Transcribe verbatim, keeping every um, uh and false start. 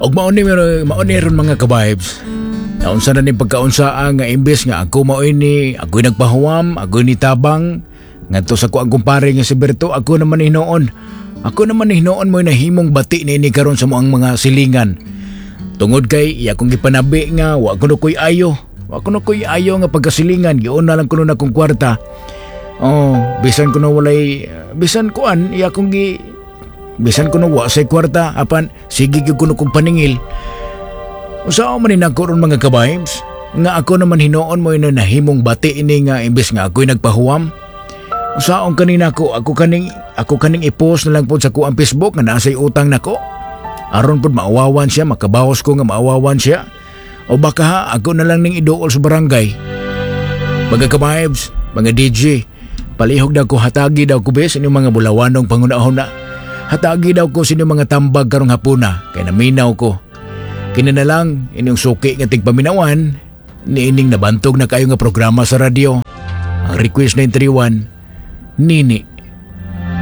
Og mao ni mao ni ron, mga ka-vibes. Naunsa na ni pagkaunsaa nga imbes nga ako mao ini, ako'y nagpahuwam, ako'y nitabang ngadto sa ko ang kumpare nga si Berto, ako naman hinuon. Ako naman hinuon mo nahimong bati ni ini karon sa moang mga silingan. Tungod kay iya kong gipanabi nga wa kuno ko'y ayo. Wa kuno ko'y ayo nga pagkasilingan, giuna lang kuno na kong kwarta. Oh, bisan kuno walay, bisan kuan iya kong gi bisan kuno wa say kwarta, apan sige gyud kuno kong paningil. Usaon man ni nako ron, mga ka-vibes, nga ako naman hinuon mo ino nahimong bati ini nga imbes nga ako'y nagpahuwam. Usaon kanina ko, ako kaning ako kaning i-post na lang pod sa kuang Facebook nga naa say utang nako. Aron pod maawawan siya, makabawas ko nga maawawan siya. O baka ha, ako na lang ning iduol sa barangay. Mga ka-vibes, mga D J, palihog daw ko, hatagi daw ko bes inyong mga bulawanong pangunahon na. Hatagi daw ko sa inyong mga tambag karong hapuna, kay naminaw ko. Kini na lang inyong suki nga tigpaminawan ni ining nabantog na kayo nga programa sa radyo. Ang request nine three one, Nini.